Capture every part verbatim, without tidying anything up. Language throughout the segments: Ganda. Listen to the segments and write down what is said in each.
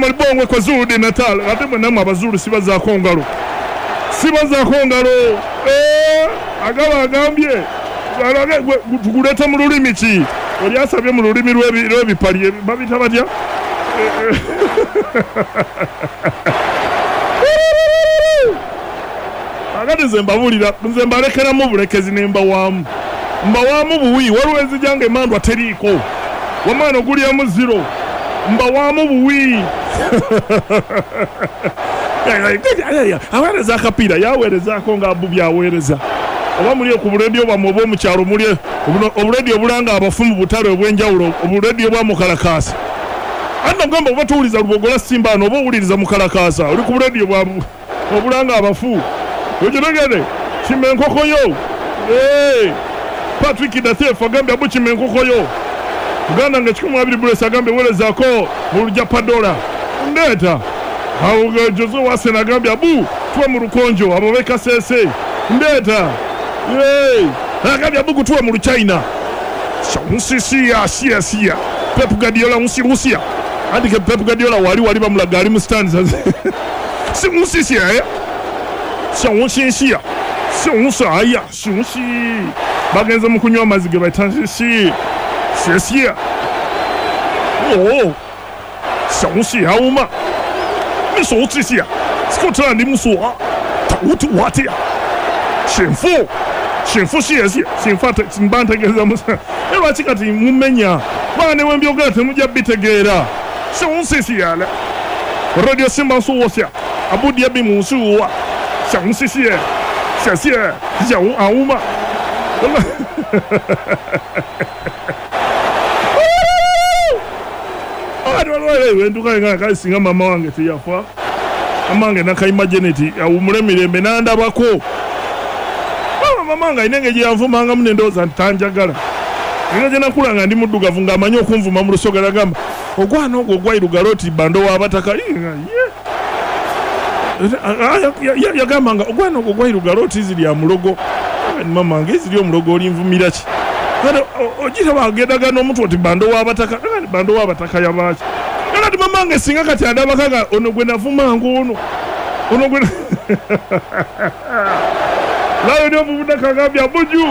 Malibongwe kwa Zulu de Natal. Ate mwe namwe abazulu sibazaako ngalo. Sibazaako ngalo. Eh, agaba agambye. Tuguleta mu lulimi ki? Oli asabye mu lulimi lw'ebipali babita batya? Akati nze mbabulira, nze mbalekeramu bulekezi ne mbawaamu. Mbawaamu buwi, waliwo enzija emandwa teriiko. Wamana ogulyamu zero. Mbawaamu buwi. Aweereza akapiira, yaweerezaako nga Abu byaweereza. Oba muli ku buleediyo bwammwe obw'omu kyalo, muli obuleediyo obulanga abafu mu butale obw'enjawulo, obuleediyo bwa mukalakaasa. Anti nagamba oba towuliriza Lubogola Simba ano, oba owuliriza mukalakaasa, oli ku buleediyo bwa obulanga abafu. Okitegedde? Kima enkoko yo. Patrick Dathef agambye Abu kima enkoko yo. Uganda nga kikumi mu abiri Bulesi agambye weerezaako mu Lujapadola. Ndeeta. Awo Jose Wasen agambye Abu tuwe mu Lukonjo, abo b'e Kasese. Ndeeta. Agambye Abu gutuwe mu Luchina. Nsisiya siya siya. Pep Guardiola nsi Rusia. Andike Pep Guardiola wali wali bamulaga ali mu stands. Si nsisiya eh. Nsisiya. Nsaya, nsi. Bagenze mu kunywa amazzi ge bayita nsisi. Siya. Oh. Nsisi hauma. Nsisiya. Scotland musuwa. Tautu watia. Shinfu. Shinfu siya siya. Shinfu mbantegeeza musa. Lwaki kati mumenya? Baana ne wembyogera temujja bitegeera. Nsisiya. Radio Simba nsuwosia. Abu Dhabi mu nsuwa. Nsisiya. Siya. Siya auma. Singa mama wange teyafa. Mama wange Nakayima Janet awummule mirembe n'andabako. Mama wange alina engeri gye yanvumangamu ne ndowooza nti tanjagala. Engeri gye nakula nga ndi muddugavu ng'amanyi okunvuma mu lusoga n'agamba ogwana ogwo ogwairugala oti bando w'abataka. Yagamba nga ogwana ogwo ogwairugala oti ziri mulogo. Mama wange ziri omulogo olinvumira ki? Ogira bagendaga n'omuntu oti bando w'abataka. Bando w'abataka yabaaki? Kati mama wange singa kati andabaka ono gwe navumanga ono. Ono gwe Layo ndio mvunda kagambye Abuju.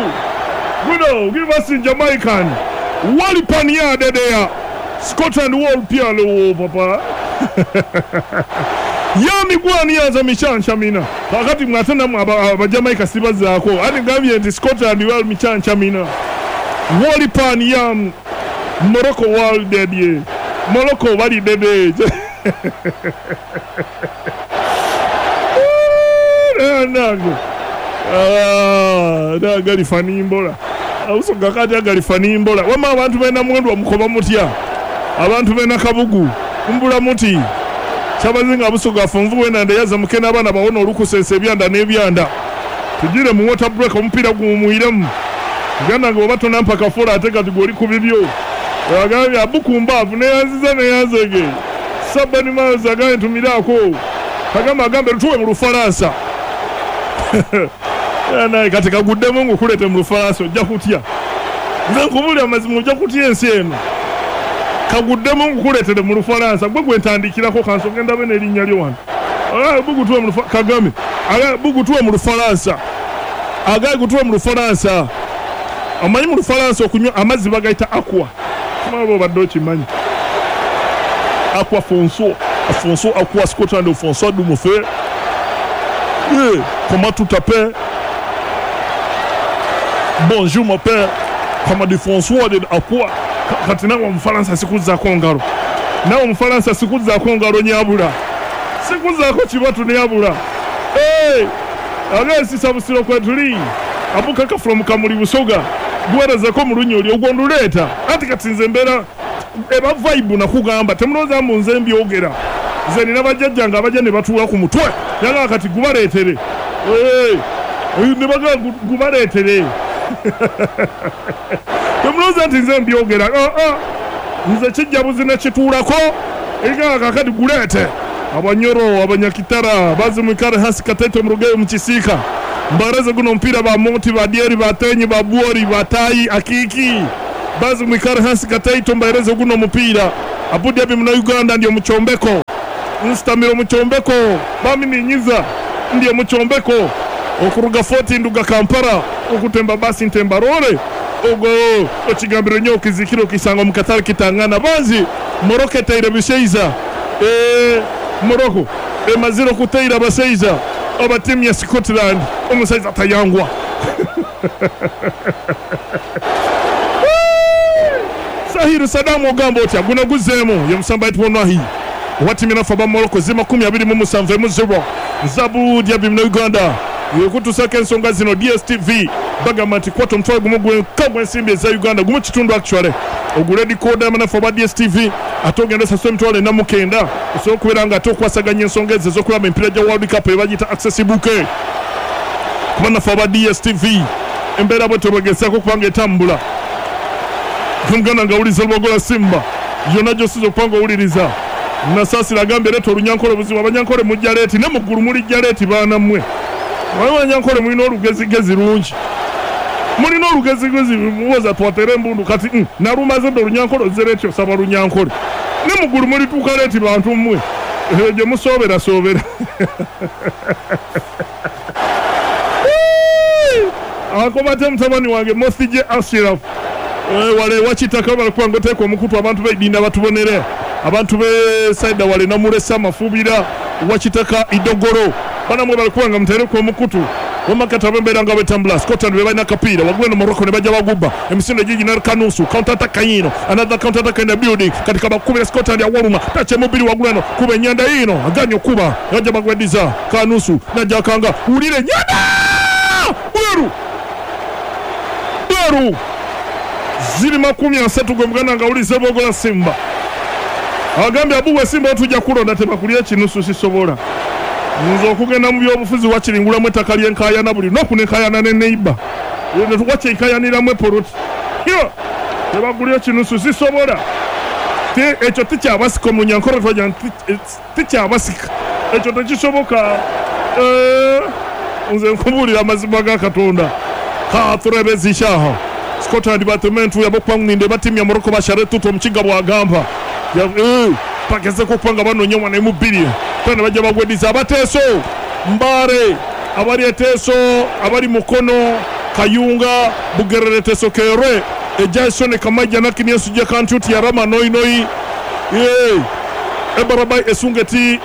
Guno, give us in Jamaican. Wali pania dedea. Scotland wall pia lo papa. Yami gwani yaza michancha mina. Wakati mwatenda aba Jamaica sibazaako. Ani gambye nti Scotland wall michancha mina. Wali pania Morocco wall dedie. Morocco wali dede. Nango. Ah, agali fanimbola. Ausoga kati agali fanimbola. Wama abantu bena mwendwa mukoba mutya. Abantu bena kabugu. Mbula muti. Kyabazinga Busoga afunvu wena ndeyaza mukena abaana bawona olukusensa ebyanda n'ebyanda. Tugire mu water break omupiira gumuyiremu. Uganda nga oba tonampa kafola ate kati gw'oli ku bibyo. Agambye Abukumbaavu neyanziza neyanzege. Sabani Miles agambye ntumiraako. Kagamba agambe tuwe mu Lufalansa. Naye kati kaguddemu ngukuleete mu Lufalansa ojja kutya. Nze nkubuulira amazima ojja kutya ensi eno. Kaguddemu ngukuleetere mu Lufalansa gwe gwe ntandikirako kansooke ndabe n'erinnya lyo wano. Bugutuwe mu Kagame. Bugutuwe mu Lufalansa. Agaye gutuwe mu Lufalansa. Omanyi mu Lufalansa okunywa amazzi bagayita aqua. Simanyi oba obadde okimanyi. Aqua Fonso. Fonso Aqua Scotland Fonso Dumufe. Yeah, comment tout t'appelles? Bonjour mon père. Comment de François de Aqua. Kati nawe omufalansa sikuzzaako ngalo. Nawe omufalansa sikuzzaako ngalo nyabula. Sikuzzaako kibatu nyabula. Hey! Agesi Busiro kwetuli. Abukaka from Kamuli Busoga. Guwerezako mu lunyoli ogwo nduleeta. Anti kati nze mbeera eba vibe nakugamba temulowooza mbu nze mbyogera. Nze nina bajjajjange abajja ne batuula ku mutwe. Yagamba kati gubaleetere. Hey! Ne bagamba gubaleetere. Temulowooza nti nze mbyogera. Ah ah. Nze kijja buzina kituulako. Egamba kakati guleete. Abanyoro, abanyakitara, bazimwikare hasi katete murugeyo mu kisika. Mbareze guno mpira ba moti ba dieri ba tenyi ba buori ba tai akiki. Bazimwikare hasi katete mbareze guno mpira. Abu Dhabi muna Uganda ndio muchombeko. Nsitamira mu kyombeko bamininyiza ndiye mu kyombeko okuruga Fort nduga Kampala okutemba basi ntemba role ogo okigambiro nyo kizikiro kisanga mu Qatar kitangana banzi Morocco etaire biseiza eh Morocco emaziro kuteira baseiza aba timu ya Scotland omusaiza tayangwa Sahiru Sadamu ogamba otya guno guzeemu ye musamba itwonwahi watimina faba Morocco zima kumi abiri mu musanvu mu zero Zabu Diaby mu Uganda yekutusaka ensonga zino D S T V bagamba nti kwata omutwalo gumu gw'enka ensimbi eza Uganda gumu kitundu actually ogule decoder mana faba D S T V ate ogenda osasula emitwalo ena mu kenda osobola okubeera nga ate okwasaganya ensonga ezo ez'okulaba emipiira gya World Cup ebagiyita accessible kuba naffe aba D S T V embeera bwe tebagezaako kubanga etambula Muganda nga awuliriza Lubogola Simba yonna gy'osinza okuba nga owuliriza Nasaasira agambye leeta olunyankole buzibu abanyankole mujja leeti ne mu ggulu mulijja leeti baana mmwe waliwo abanyankole mulina olugezigezi lungi mulina olugezigezi muwoza twatere embundu kati mm, nalumaze dda olunyankole ozze leeti osaba lunyankole ne mu ggulu mulituuka leeti bantu mmwe gye musooberasoobera akobate mutabani wange Mothije Ashraf wale wakitaka balikuwa ngoteeka omukutu abantu beidinda batubonere abantu be saida wale namulesa mafubira wakitaka idogoro banamwe balikuwa nga mutereko omukutu wamakata bembeera nga betambula Scotland be balina kapiira waggulu eno Morocco ne bajja bagubba emisinde gigi na kanusu counter attack yino another counter attack in the building katika bakubira Scotland ya waluma tache mubiri waggulu eno kuba enyanda yino aganye okuba yajja bagwediza kanusu najja akanga wulire nyanda bweru bweru ziri makumi asatu gwe muganda nga awuliriza Lubogola Simba agambye abuwe Simba otujja kulonda tebakulya ekinusu sisobola nze okugenda mu byobufuzi wakiringulamu ettaka ly'enkaayana buli lunaku n'enkaayana ne neighbor wakyenkayaniramu epoloti tebagulya ekinusu sisobola ekyo tikyabasika omunyankole twagira nti tikyabasika ekyo tekisoboka nze nkubuulira amazima ga Katonda katurebezishaho Scotland batementu yabokwangninde batimu ya Morocco bashare tuto omukiga bwagamba pagezeko okubanga banoonya omwana emubiri kandi bajja bagwediza abateeso Mbare abali eteeso abali Mukono Kayunga Bugerere Teso Kere Ejason Kamaija nakiniesujja kantuti yarama noinoi ebarabai esungeti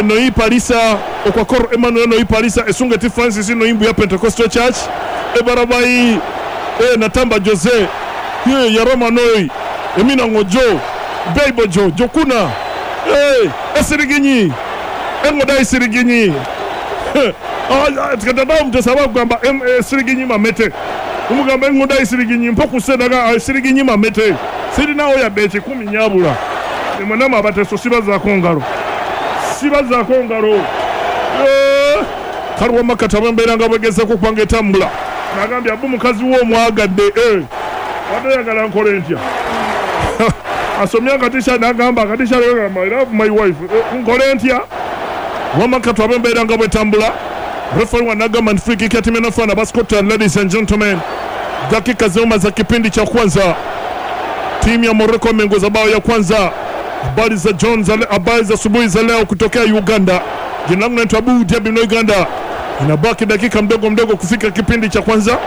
noi Parisa okwakor Emmanuel noi Parisa esungeti Francis noimbu ya Pentecostal Church ebarabai e Natamba Jose ye yarama noi emina ngojo Beibo jo jokuna eh esiriginyi engoda esiriginyi ah tukataba mutesaba kugamba esiriginyi mamete umugamba engoda esiriginyi mpokusedaga esiriginyi mamete sirinawo yadde ekikumi nyabula emwenama abateso sibazaako ngalo sibazaako ngalo karuwa makata embeera nga bwegezeko okubanga etambula nagambye abu mukazi wo omwagadde wadde oyagala nkole ntya asomye akatisha nagamba akatisha I love my wife nkole ntya wamakatwa abembeera nga bwetambula referee wanagamba ni free kick ya timu inafana ba Scotland. Ladies and gentlemen, dakika zima za kipindi cha kwanza timu ya Morocco imeongoza bao ya kwanza. Habari za Jones, habari za asubuhi za leo kutokea Uganda. Jina langu naitwa Abu Diaby na Uganda. Inabaki dakika mdogo mdogo kufika kipindi cha kwanza.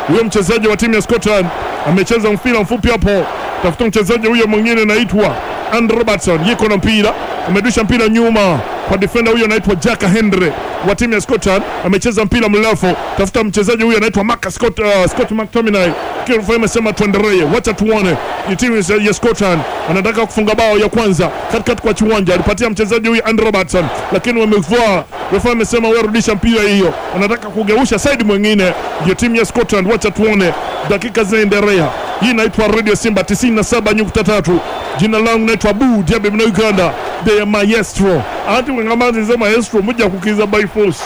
Huyo mchezaji wa timu ya Scotland amecheza mpira mfupi hapo. Tafuta mchezaji huyo mwingine anaitwa Andrew Robertson, yuko na mpira, amedusha mpira nyuma kwa defender huyo anaitwa Jack Henry wa timu ya Scotland, amecheza mpira mrefu. Tafuta mchezaji huyo anaitwa Mark Scott, uh, Scott McTominay. Kirofa amesema tuendelee, wacha tuone. Ni timu ya Scotland anataka kufunga bao ya kwanza katikati kwa kiwanja, alipatia mchezaji huyo Andrew Robertson, lakini wamevua. Refa amesema wewe rudisha mpira hiyo, anataka kugeusha side mwingine. Ndio timu ya Scotland, wacha tuone dakika zinaendelea. Hii inaitwa Radio Simba tisini na saba nukta tatu. Jina langu naitwa Abu Diaby na Uganda. The maestro. Ati wengamazi nze maestro mujja kukiza by force.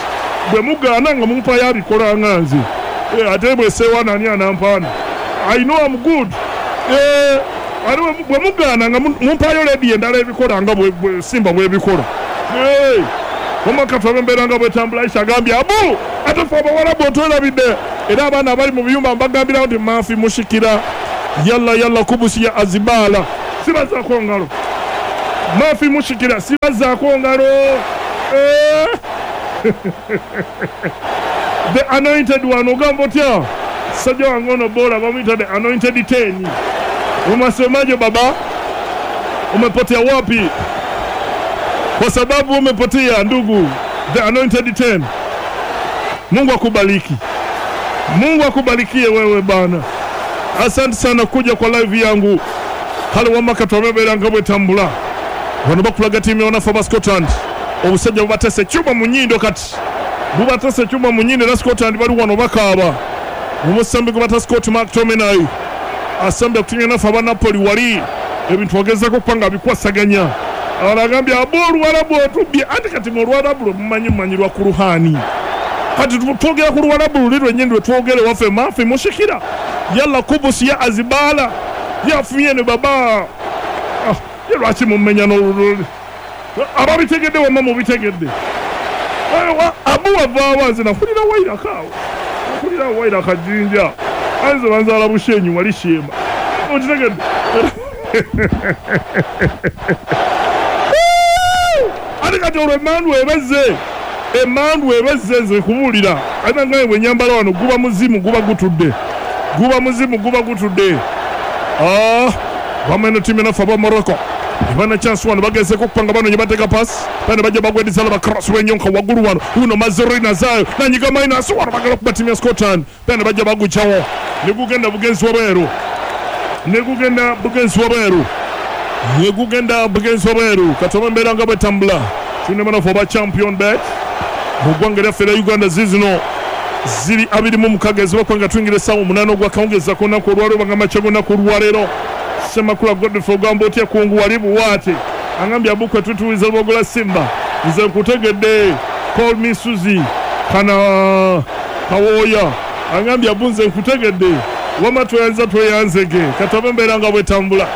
Bwe mugaana nga mumpa yabikola nganzi. Eh ate bwe sewa nani anampana. I know I'm good. Eh ate bwe mugaana nga mumpa yo lady endala ebikola nga bwe Simba bwe bikola. Eh Omakatwa bembeera nga bwetambula Aisha agambye Abu ate fe abawarabu otwerabidde era abaana abali mu biyumba mbagambirawo nti mafi mushikira yalla yalla kubusi ya azibala sibazaako ngalo Mafi mushikira sibazaako ngalo. Eh. The anointed one ogamba otya? Sajja wange ono bora bamuyita the anointed ten. Umasemaje baba? Umepotea wapi? Kwa sababu umepotea ndugu. The anointed ten. Mungu akubariki. Mungu akubarikie wewe bana. Asante sana kuja kwa live yangu. Hali wamaka twamebera nga bwetambula. Wano bakulaga timu ya wanafa ba Scotland. Obusajja bubatese chuma mu nnyindo kati. Bubatese chuma mu nnyindo na Scotland bali wano bakaaba. Omusambi gwe bata Scott McTominay asambye kutumya nafa aba Napoli wali ebintu ogezaako kupanga bikwasaganya. Abagambye abo Oluwarabu otubbye ate kati mu Oluwarabu lwe mumanyi mumanyirwa ku Ruhani. Kati twogera ku Luwarabu luli lwennyini lwe twogere waffe Mafi mushikira. Yalla kubusi ya azibala yafunye ne baba. Ah, ye lwaki mumenya n'olululi? Ababitegedde wamma mubitegedde. Abu wavaawa nze nakulira Wairaka awo. Nakulira Wairaka Jinja. Anze banzaala Bushenyi wali Sheema. Okitegedde? Ate kati olwo emmandu ebezze. Emmandu ebezze nze nkubuulira. Ate nga bwe nnyambala wano guba muzimu guba gutudde. Guba muzimu guba gutudde. Ah, wameno timu nafa ba Morocco. Ibana chance wano bagezeko okupanga bano nye bateka pass. Bano bajja bagwedizala ba cross wenyonka waggulu wano. Uno Mazuri nazayo nanyiga minus wano bagala okuba timu ya Scotland. Bano bajja bagucawo. Ne gugenda bugenzi wabweru. Ne gugenda bugenzi wabweru. Ne gugenda bugenzi wabweru. Katoma mbeera nga bwetambula. Tulina banafu aba champion bet. Mu ggwanga lyaffe erya Uganda zizino ziri abiri mu mukaaga ezibakwanga tuyingira essaawa omunaana ogwakawungeezi ak'olunaku olwaleero bagamba ky'olunaku olwaleero. Ssemakula Godfrey ogamba otya kungu wali buwaate. Angambye abukwe tutuwiza Lwogola Simba. Nze nkutegedde. Call me Suzy. Kana Kawoya. Angambye abu nze nkutegedde. Wama tweyanza tweyanzege. Kataba mbeera nga bwetambula.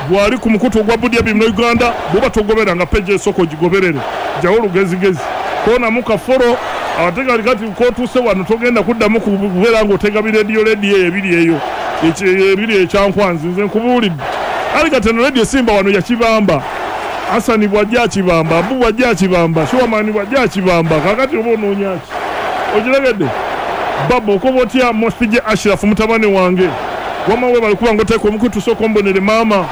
Bw'ali ku mukutu ogwa Budia Bim Uganda bw'oba togoberanga peji esooka ogigoberere. Jjawo olugezigezi. Koonamu kafolo ate kati kati k'otuuse wano togenda kuddamu kubeera ng'otega birediyo rediyo eyo ebiri eyo. Ebiri ekyankwanzi nze nkubuulidde. Ali kati eno rediyo Simba wano yakibamba. Hasani bw'ajja akibamba, Abu bw'ajja akibamba, Shuwamani bw'ajja akibamba. Kaakati oba onoonya ki? Okiregedde? Baba okoba otya Mosije Ashraf mutabani wange? Wamma weebale kuba ng'oteeka omukutu sooka ombonere maama.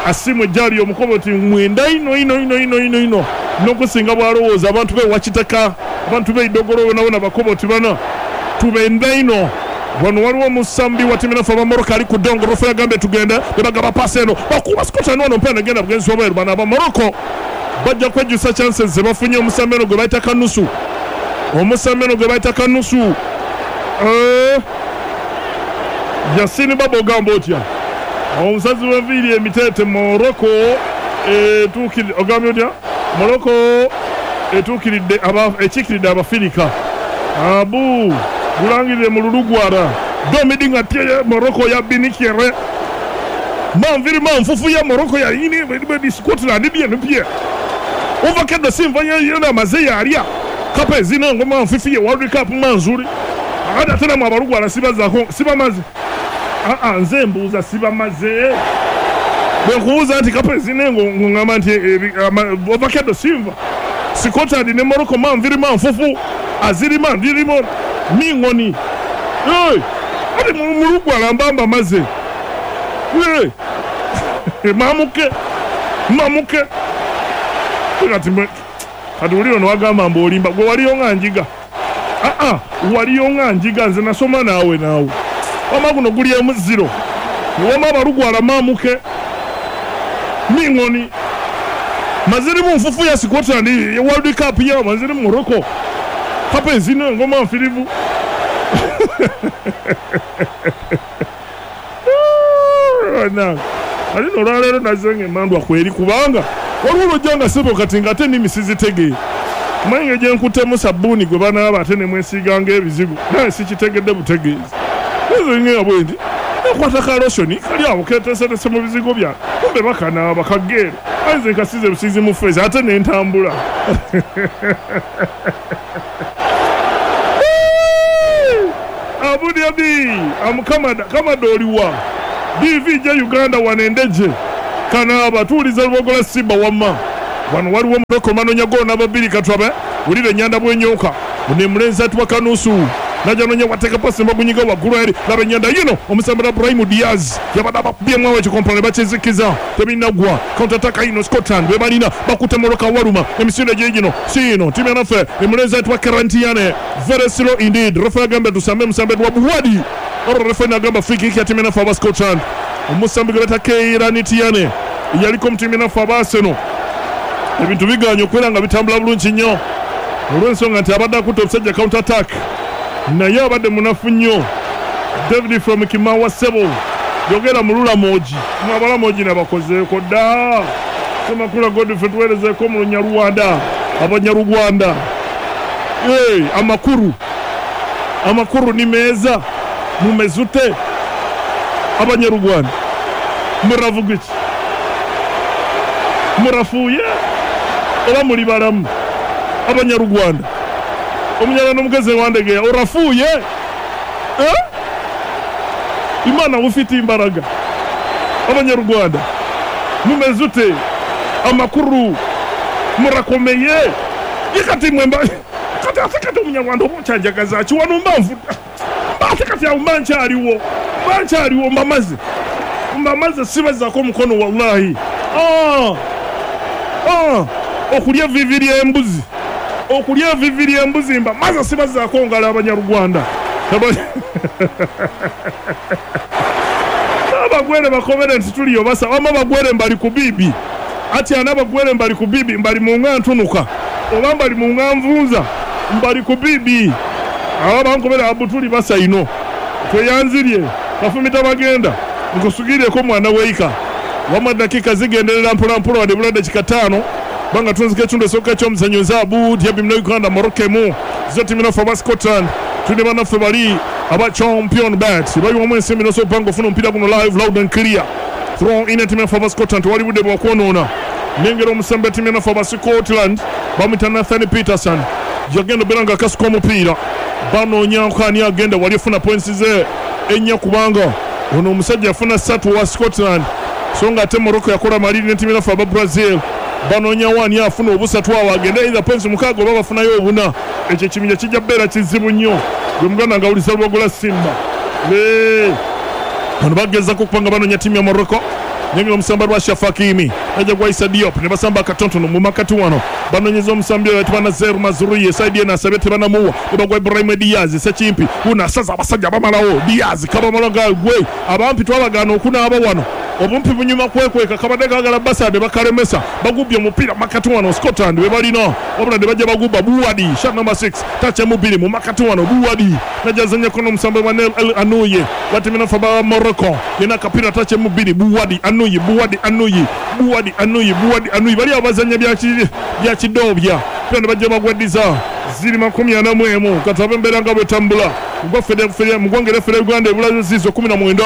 Asiimwe gy'ali omukoba oti mwenda ino ino ino ino ino ino. N'okusinga bw'alowooza abantu be Wakitaka, abantu be Idogolo bonabona bakoba oti bana tubenda ino. Wano waliwo omusambi wa timu nafe aba Morocco ali ku ddongo rofa yagambye tugende ne bagaba paasi eno bakuba Scotland wano mpena negenda bugenzi wabweru. Bano aba Morocco bajja kwejjusa chances ze bafunye omusambi eno gwe bayita Kanusu. Omusambi eno gwe bayita Kanusu. Eh, Yasini Baba ogamba otya? Omusazi w'enviiri emiteete Morocco etuukiridde ogambye otya? Morocco etuukiridde ekiikiridde Abafirika. Abu gulangirire mu lulugwara domidinga tie Morocco ya binikere manviri manfufu ya Morocco ya yini di Scotland bien pie ovakeda simva yena maze yalya kape zina ngoma manfufu ya World Cup manzuri akada tena mu abalugwara sibazako sibamaze a a nze mbuuza sibamaze bwe nkubuuza nti kape zina ngo ngamba nti ovakeda simva Scotland ne Morocco manviri manfufu azirima ndirimo mingoni. Hey, ati mulugwala mbamba maze. Hey. Mamuke. Mamuke. Kati kati ulio no wagamba mbu olimba gwe waliyo nga njiga. Ah ah, waliyo nga njiga nze nasoma naawe naawe. Wama guno guli emu zero. Wama abalugwala mamuke. Mingoni. Maziri mu nfufu ya Scotland World Cup ya maziri mu Morocco. Kape zino ngoma nfirivu. Na. Ali no lwaleero nazze ng'emmandwa kweri kubanga waliwo olwojja nga ssebo kati ng'ate ennimi sizitegeera. Mange gye nkuttemu sabbuuni gwe banaaba ate ne mwesiiga ng'ebizigo naye sikitegedde butegeezi. Nze ngenda bwe nti nakwata ka lotion kali awo keeteeseteese mu bizigo byange kumbe bakanaaba kageero. Aye nze nkasize busiizi mu ffeesi ate ne ntambula. Abu Dhabi, am Kamada, Kamada oliwa. D V J Uganda wanendeje. Kanaaba tuwuliza Lubogola Simba wamma. Wano waliwo Morocco manoonya ggoolo namba bbiri katwabe. Wulira ennyanda bw'ennyooka. Ono emulenzi atuwa kanusu. Najja nonya wateeka pasi mbagunyiga waggulu eri. Laba ennyanda yino omusambira Brahim Diaz. Yabadde abakubyemu awo ekikompolo ne bakizikiza. Tebinnaggwa. Counter attack ino Scotland be balina bakutte Morocco waluma. Emisinde gye gino. Si ino ttiimu yanaffe emulenzi atuwa Karantiane. Very slow indeed. Refa agamba tusambe musambe wa Buwadi. Olwo refa n'agamba free kick ya ttiimu yanaffe aba Scotland. Omusambi gwe bayita Keiranitiane yaliko mu ttiimu yanaffe aba Arsenal. Ebintu bigaanye okubeera nga bitambula bulungi nnyo olw'ensonga nti abadde akutte omusajja counter attack naye abadde munafu nnyo. David from Kimawa Sebo yogera mu Lulamogi mwe Abalamogi nabakozeeko dda. Semakula Godfrey tuweerezeeko mu Lunyarwanda Abanyarwanda. Hey, amakuru amakuru ni meza mumeze Abanyarwanda muravuga iki? Murafuye oba muri baramu? Abanyarwanda omunyarwanda omugezi wandegeya orafuye eh? Imana ufite imbaraga. Abanyarwanda mumeze ute? Amakuru murakomeye ikati mwemba kati ate kati omunyarwanda obukyajagaza ki wano mbanvu ate kati awo mba nkyaliwo mba nkyaliwo mbamaze mbamaze sibazaako omukono wallahi. Ah ah okulya evivi ly'embuzi okulya evivi ly'embuzi mbamaze sibazaako ngalo Abanyarwanda. Abagwere bakobere nti tuliyo basa wama bagwere mbali ku bibi ati ana bagwere mbali ku bibi mbali mu nga ntunuka oba mbali mu nga nvunza mbali ku bibi aba bankobere abutuli basa ino tweyanzirye kafumita bagenda nkusugireko mwana weika wama dakika zigenderera mpola mpola wadde bula dakika ttaano banga tunzike ekitundu esooka eky'omuzannyo zaabu dyabi muna Uganda Morocco emu zo ttiimu naffe aba Scotland tuli bannaffe bali aba Champion Bet bayiwamu ensimbi n'osobola okupanga ofuna omupiira guno live loud and clear. Throw in ttiimu yaffe aba Scotland tewali budde bwa kwonoona. Nengera omusambi ttiimu yaffe aba Scotland bamuyita Nathan Peterson yagenda obeera nga akasuka omupiira banoonyaako ani agenda wali ofuna points ze ennya kubanga ono omusajja yafuna ssatu wa Scotland so nga ate Morocco yakola maliri ne ttiimu yaffe aba Brazil banoonyawo ani afuna obusatu awo agende either points mukaaga oba bafunayo obuna. Ekyo ekibinja kijja kubeera kizibu nnyo gwe muganda nga awuliza Lubogola Simba. Bano bagezaako okubanga banoonya ttiimu ya Morocco. Nengera omusamba lwa Shafakimi najja gwa Issa Diop ne basamba akatonotono mu makati wano banoonyeza omusambi oyo ayitibwa Nazer Mazrouei saidi eno asabye tebanamuwa ne bagwa Ibrahim Diaz Sekimpi wuno asaza abasajja bamalawo Diaz kabamala nga gwe abampi twabagaana okunaaba wano obumpi bunyuma kwekweka kabadde kaagala basa ne bakalemesa bagubbye omupiira makati wano Scotland be balina wabula ne bajja bagubba Buwadi shot number six touch emu bbiri mu makati wano Buwadi najja azannyako n'omusambi wa Nel El Anuye watimina fa Morocco yena akapiira touch emu bbiri Buwadi Anuye Buwadi Anuye Buwadi Anuye Buwadi Anuye bali abazannya bya kidoobya pia ne bajja bagwaddiza ziri makumi ana mu emu katabe embeera nga bwetambula mu ggwanga lyaffe lya Uganda ebula zizo kumi na mwenda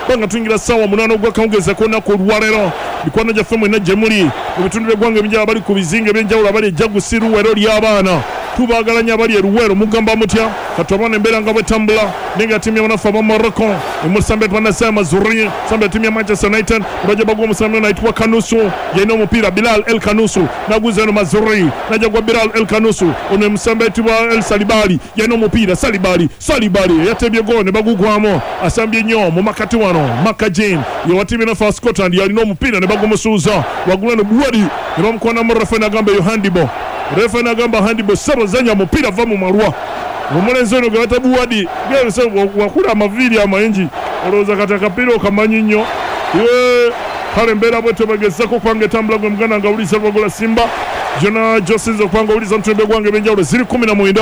banga tuyingira ssaawa munaana ogw'akawungeezi ak'olunaku olwaleero. Mikwano gyaffe mwenna gye muli mu bitundu by'eggwanga ebinjawulo abali ku bizinga eby'enjawulo abali e Jagusi Luwero ly'abaana tubaagala nnyo abali e Luwero mugamba mutya katwabona embeera nga bwetambula nenga ttiimu y'abanafu aba Morocco emusambi ayitibwa Nassir Mazrouei sambi ttiimu ya Manchester United bajja bagwa omusambi ono ayitibwa Kanusu yalina omupiira Bilal El Kanusu naguza eno Mazrouei najja gwa Bilal El Kanusu ono omusambi ayitibwa El Salibali yalina omupiira Salibali Salibali yatebye ggoolo ne bagugwamu asambye nnyo mu makati wano Makajin yewa ttiimu y'abanafu Scotland yalina omupiira ne bagumusuuza waggulu eno Buwadi ne bamukwanamu refa n'agamba eyo handball refa n'agamba handball ssebo zanya mupiira va mu malwa omulenzi ono gwe bayita Buwadi wakula amaviiri amangi olowooza kati akapiira okamanyi nnyo. Kale embeera bwetyo bagezaako okubanga etambula gwe muganda nga awuliza Lubogola Simba gyonna gy'osinza okubanga owuliza mutumbe gwange ebyenjawulo ziri kumi na mwenda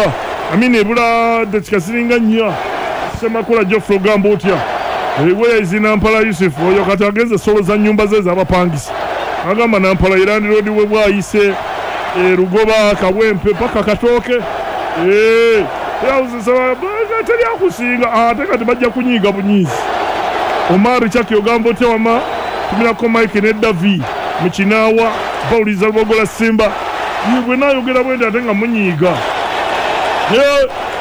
amini ebula dakika ziringa nnya. Semakula Geoffrey ogamba otya? Eweezi Nampala Yusuf oyo kati agenze soloza nnyumba ze z'abapangisa agamba Nampala erandiroodi we bwayise Rugoba Kawempe paka Katooke teri akusinga ate kati bajja kunyiiga bunyiizi. Omar Chaki ogamba otya wama tumirako Mike ne Davi mu Kinaawa bawuliza Lubogola Simba bwe naayogera bwe nti ate nga munyiiga.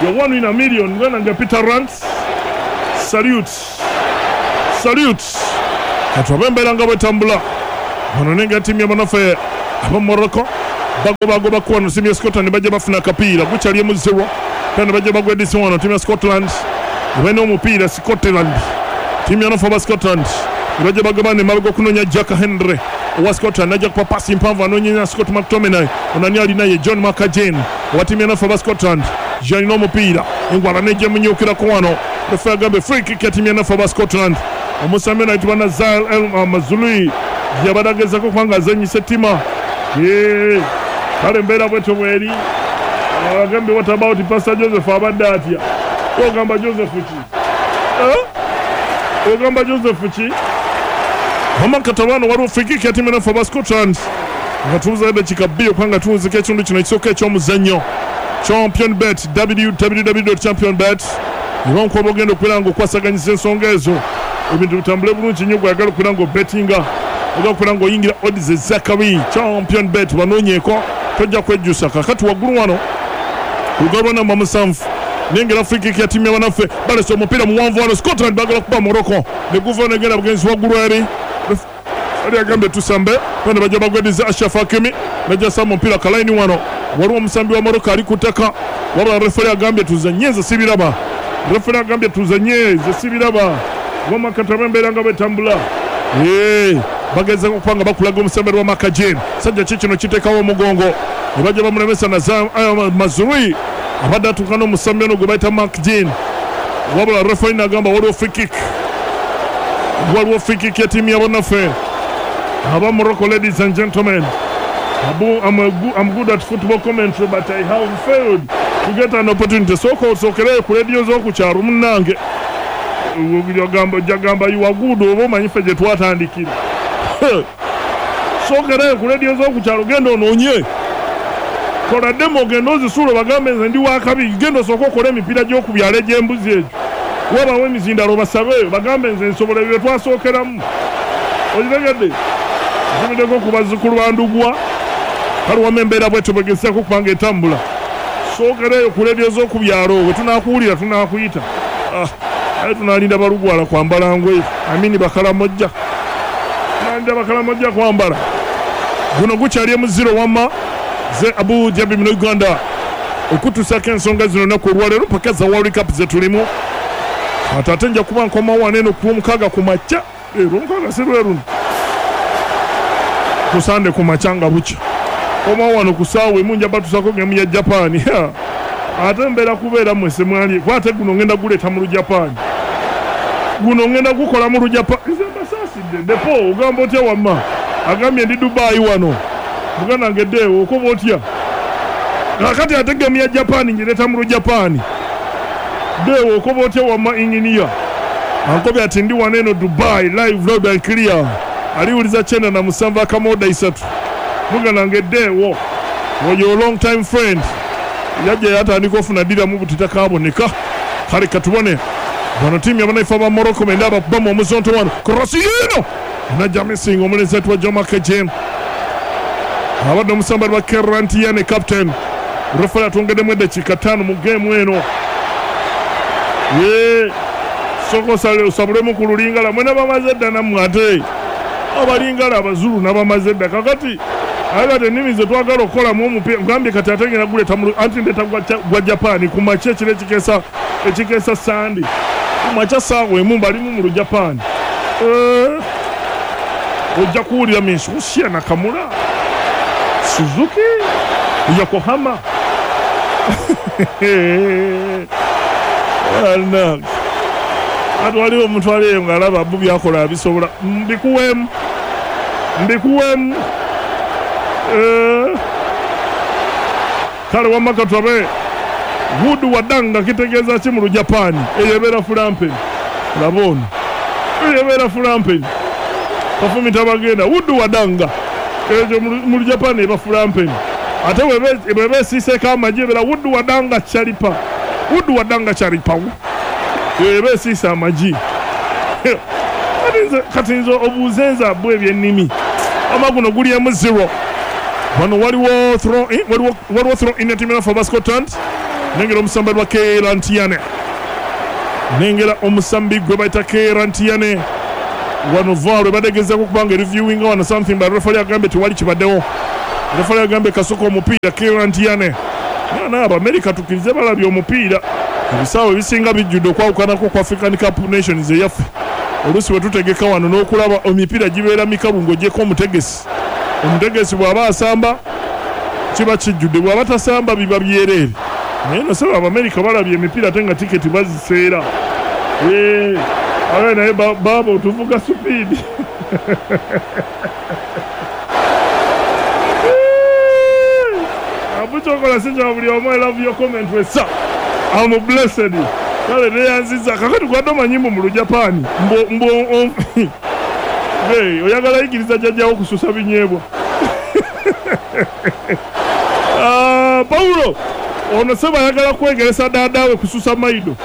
You're one in a million ngana nga Peter Rants salute salute katwabe embeera nga bwetambula Wano nenga ttiimu y'abannaffe aba Morocco bagobagoba ku wano ttiimu ya Scotland bajja bafuna akapiira gukyali emu zero kandi bajja bagwedisa wano ttiimu ya Scotland balina omupiira Scotland ttiimu y'abannaffe aba Scotland bajja bagabana emabega okunoonya Jack Henry owa Scotland najja kupa pasi mpanvu anoonyenya Scott McTominay onani alinaye John McGinn owa ttiimu y'abannaffe aba Scotland yalina omupiira engwala nejja emunyukirako wano refa agambye free kick ya ttiimu y'abannaffe aba Scotland omusambi ono ayitibwa Nazar El Mazrui yabadde agezaako kubanga azannyisa ettima kale embeera bwetyo bweri agambye what about Pastor Joseph abadde atya ogamba Joseph ki ogamba Joseph ki Amakatabano waliwo free kick ya ttiimu y'abannaffe aba Scotland nga tubuzayo eddakiika bbiri okubanga tuwunzika ekitundu kino ekisooka eky'omuzannyo Champion Bet w w w dot champion bet era nkuba ogenda okubeera nga okwasaganyiza ensonga ezo ebintu bitambule bulungi nnyo gw'oyagala okubeera nga obetinga oyagala okubeera ng'oyingira odds ez'akabi Champion Bet banoonyeeko tojja kwejjusa kakati waggulu wano ku lugalo lwa namba musanvu nengera free kick ya ttiimu y'abannaffe balese omupiira muwanvu wano Scotland baagala kuba Morocco ne guva negenda bugenzi waggulu eri ali agambye tusambe bano bajja bagwediza Ashraf Hakimi najja samba omupiira kalayini wano waliwo omusambi wa Morocco ali ku ttaka wabula referi agambye tuzanye nze sibiraba referi agambye tuzanye nze sibiraba wamakataba embeera nga bwetambula bagezaako okuba nga bakulaga omusambi wa Makajin sajja ki kino kiteekawo omugongo ne bajja bamulemesa Nazar Mazrui abadde atuuka n'omusambi ono gwe bayita Mark Jean wabula referi n'agamba waliwo free kick waliwo free kick ya ttiimu y'abannaffe aba Morocco. Ladies and gentlemen, Abu, I'm, a, I'm good at football commentary but I have failed to get an opportunity. Sooka osookereyo ku rediyo z'oku kyalo munnange ogamba jagamba you are good oba omanyi ffe gye twatandikira sookereyo ku rediyo z'oku kyalo genda onoonye kola demo ogenda ozisuula bagambe nze ndi wakabi genda osooke okole emipiira gy'oku byalo egy'embuzi egyo wabawo emizindalo basabe bagambe nze nsobola ebyo twasookeramu okitegedde ntumiddeko ku bazzukulu ba Ndugwa kale wamma embeera bwetyo bwegezaako okubanga etambula sookereyo ku rediyo z'oku byalo bwe tunaakuwulira tunaakuyita aye tunalinda balugwala kwambala ngoye amini bakalamojja tunalinda bakalamojja kwambala guno gukyali emuziro wamma ze Abu Dhabi mu Uganda okutuusako ensonga zino olunaku olwaleero paka za World Cup ze tulimu ate ate nja kuba nkomawo wano eno ku lwomukaaga ku makya olwomukaaga si lwe luno ku Sande ku makya nga bukya komawo wano ku ssaawa emu nja batuusako gemu ya Japan ate mbeera kubeera mmwe semwali kuba ate guno ngenda guleeta mu Lujapaani guno ngenda gukola mu Lujapaani nze mbasaasidde depo ogamba otya wamma agambye ndi Dubai wano muganda wange ddeewo okoba otya kakati ate gemu ya Japan ngireeta mu Lujapaani ddeewo okoba otya wamma inginiya ankobye ati ndi wano eno Dubai live loud and clear aliwuliza kyenda na musanvu akamoda isatu muganda wange ddeewo oyo long time friend yajja yatandika ofuna ddiramu buti takaboneka kale katubone bano ttiimu y'abannaife aba Morocco benda abakubamu omuzonto wano cross yino najja missing omulenzi ayitibwa Joma Kejen abadde omusambali wa Kerantiane captain referi atwongeddemu eddakiika ttaano mu geemu eno ye sooka osabulemu ku lulingala mwena bamaze dda nammwe ate abalingala abazulu nabamaze dda kakati aye kati ennimi ze twagala okukolamu omupiira ngambye kati ate ngenda guleeta anti ndeeta gwa Japan ku makya ekiro ekikeesa ekikeesa Sande ku makya ssaawa emu mbalimu mu Lujapaani ojja kuwulira Mitsubishi Nakamura Suzuki Yokohama ati waliwo omuntu ali eyo ng'alaba bu byakola abisobola mbikuweemu mbikuweemu kale wamma katwabe Wood wadanga kitegeeza ki mu Lujapaani eyo ebeera fulampeni laba ono eyo ebeera fulampeni kafumita bagenda Wood wadanga eyo mu Lujapaani eba fulampeni ate bweba esiiseeko amagi ebeera Wood wadanga chalipa Wood wadanga chalipa eyo eba esiise amagi kati nze obuuze nze abu ebyennimi ama guno guli emu zero wano waliwo throw in waliwo waliwo throw in ya ttiimu ya Scotland nengera omusambi wa Kerantiane nengera omusambi gwe bayita Kerantiane Wano V A R badegezaako kubanga reviewing wano something, but referee agambye tewali kibaddewo. Referee agambye kasuka omupiira Kieran Tierney. Naye Abamerika tukkirize balabye omupiira. Ebisaawe ebisinga bijjudde okwawukanako ku African Cup Nations eyaffe. Oluusi bwe tutegeka wano n'okulaba emipiira gibeera mikalu ng'oggyeko omutegesi. Omutegesi bw'aba asamba kiba kijjudde, bw'aba tasamba biba byereere. Naye no sebo Abamerika balabye emipiira ate nga tiketi baziseera. Ee, abe naye baaba otuvuga speed. Abukyokola si kya buli omu. I love your comment wesa. I'm blessed. Kale neyanziza kakati gwadde omanyi mbu mu Lujapaani mbu mbu hey, oyagala yigiriza jjajjawo kususa binyeebwa. Ah, Paulo ono seba ayagala kwegeresa daadaawe kususa maido.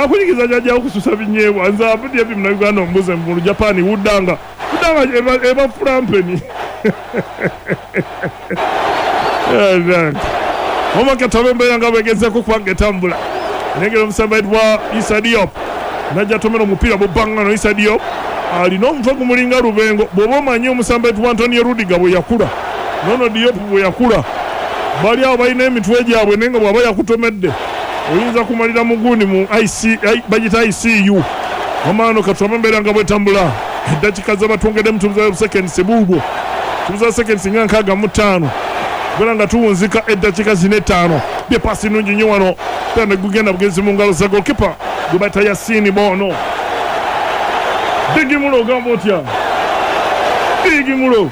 Akuyigiriza jjajjawo kususa binyeebwa. Nze abudde ebi Munnayuganda ombuze mu Lujapaani wuddanga wuddanga eba, eba fulampeni. Omakatabe embeera nga bwegezaako kubanga etambula. Nengera omusamba yitibwa Issa Diop najja atomera omupiira bubbangano. Issa Diop alina omutwe gumulinga lubengo. Bw'oba omanyi omusamba yitibwa Antonio Rudiger bwe yakula, nono Diop bwe yakula, bali awo balina emitwe gyabwe, naye nga bw'aba yakutomedde oyinza kumalira mugundi mu I C, bagita I C U. Omano katulabe embeera nga bwetambula. Eddakiika zebatwongeddemu tubuzayo seconds buubwo, tubuzayo seconds nga nkaaga mu ttaano kubeera nga tuwunzika eddakiika zino ettaano. Bye pasi nnungi nnyo wano, pera ne gugenda bugenzi mu ngalo za goalkeeper gwe bayita Yasini Bono. Bigi Mulo, ogamba otya Bigi Mulo?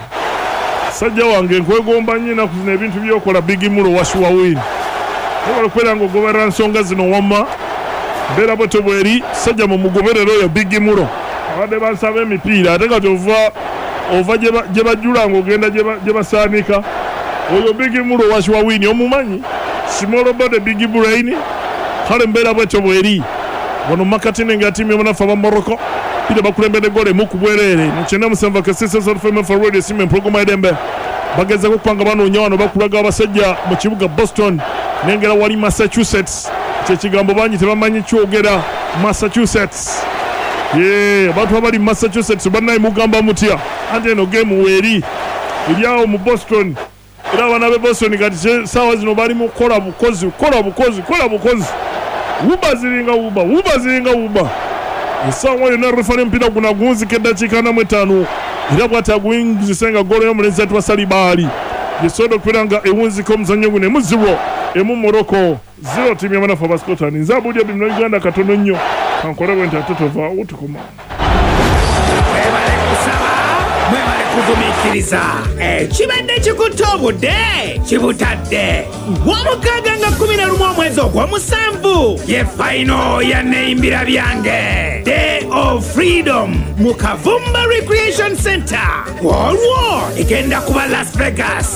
Sajja wange nkwegomba nnyo ennaku zino ebintu byokola. Bigi Mulo washuwa win obala okubeera nga ogoberera nsonga zino. Wamma mbeera bwetyo bweri sajja mumugoberera oyo Bigi Mulo. Abadde bansaba emipiira ate kati ova ova gye bajjula ng'ogenda gye basaanika. Oyo Bigi Mulo washuwa win omumanyi, small body, big brain. Kale mbeera bwetyo bweri wano makati nenga tiimu y'omunafu aba Morocco pira bakulembedde goal emu ku bwereere mu kyenda musanvu K C S F M for Radio Simu empologoma y'eddembe. Bagezaako okupanga banoonya wano bakulaga abasajja mu kibuga Boston, nengera wali Massachusetts. Kyekigambo bangi tebamanyi kyogera Massachusetts. Ye abantu abali mu Massachusetts bannaye mugamba mutya? Anti eno game weeri eri awo mu Boston, era abaana b'e Boston kati saawa zino bali mu kukola bukozi, kukola bukozi, kukola bukozi. Wuba ziringa wuba, wuba ziringa wuba. Essaawa yonna refari omupiira guno agunzika eddakiika ana mu etaano, era bw'ati aguwinzise nga goolo y'omulenzi atwa Salibaali yesobola okubeera nga ewunzika omuzannyo guno emu zero emu Morocco zero tiimu y'abanafu aba Scotland. Nze abuulya bino Uganda katono nnyo kankole bwe nti ate tovaawo tukoma. Mwebale kusaba, mwebale kugumiikiriza. Ekibadde kikutte obudde kibutadde. Womukaaga nga kumi na lumu omwezi ogw'omusanvu ye final ya Neyimbira Byange Day of Freedom mu Kavumba Recreation Center. Olwo egenda kuba Las Vegas,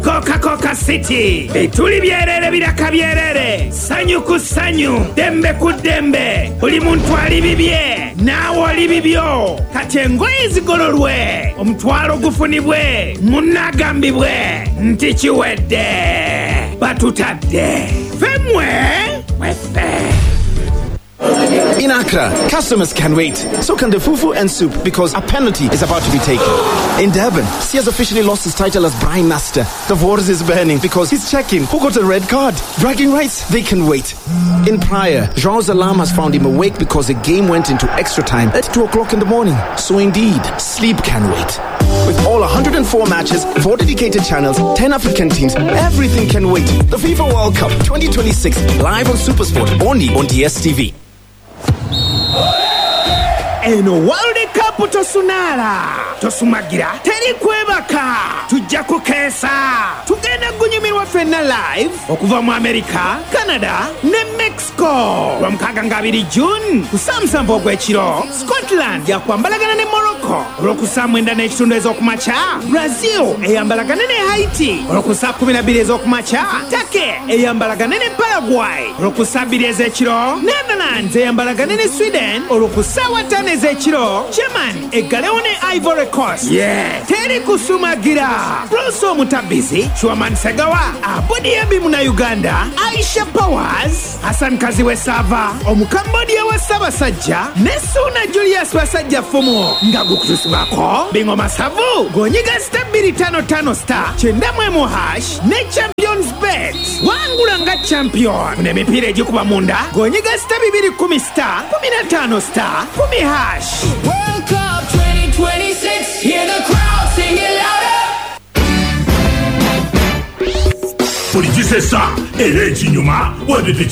Coca-Cola City, bituli byerere, biraka byerere, ssanyu ku ssanyu, ddembe ku ddembe. Buli muntu ali bibye, naawe oli bibyo. Kati engoye zigololwe, omutwalo gufunibwe, munnagambibwe nti kiwedde, batutadde femwe mweffe. In Accra, customers can wait. So can the fufu and soup because a penalty is about to be taken. In Durban, he has officially lost his title as Brian Master. The wars is burning because he's checking who got a red card. Bragging rights, they can wait. In Praia, João's alarm has found him awake because the game went into extra time at two o'clock in the morning. So indeed, sleep can wait. With all one hundred four matches, four dedicated channels, ten African teams, everything can wait. The FIFA World Cup twenty twenty-six, live on SuperSport, only on D S T V. Eno World Cup tosunaala, tosumagira, teri kwebaka, tujja kukeesa, tugenda kunyumirwa ffenna live okuva mu America, Canada ne Mexico. Lwamukaaga nga abiri June ku saa musanvu ogw'ekiro, Scotland yakwambalagana ne Morocco. Olwokusaa mwenda n'ekitundu ez'okumakya, Brazil eyambalagane ne Haiti. Olwokusaa kumi na bbiri ez'okumakya, Turkey eyambalagane ne Paraguay. Olwokusaa bbiri ez'ekiro, Netherlands Netherlands eyambalagane ne Sweden, olwo ku ssaawa ttaano ez'ekiro German eggalewo ne Ivory Coast. Yeah. Teri kusumagira. Bruce Omutabizi, Chuaman Segawa, Abudi Abi Munnayuganda, Aisha Powers, Hassan Kaziwe Sava, Omukambodia wa Ssaabasajja ne Ssuuna Julius Basajja Fumu nga gukutusibwako Bingo Masavu ng'onyiga star bbiri ttaano ttaano star kyenda mu emu hash ne Champions Bet. Wangula nga champion. Funa emipiira egikuba munda ng'onyiga star bibiri kkumi star kkumi na ttaano star kkumi hash. World Cup twenty twenty-six, hear the crowd sing it louder. Buli kisesa era ekinyuma wadde.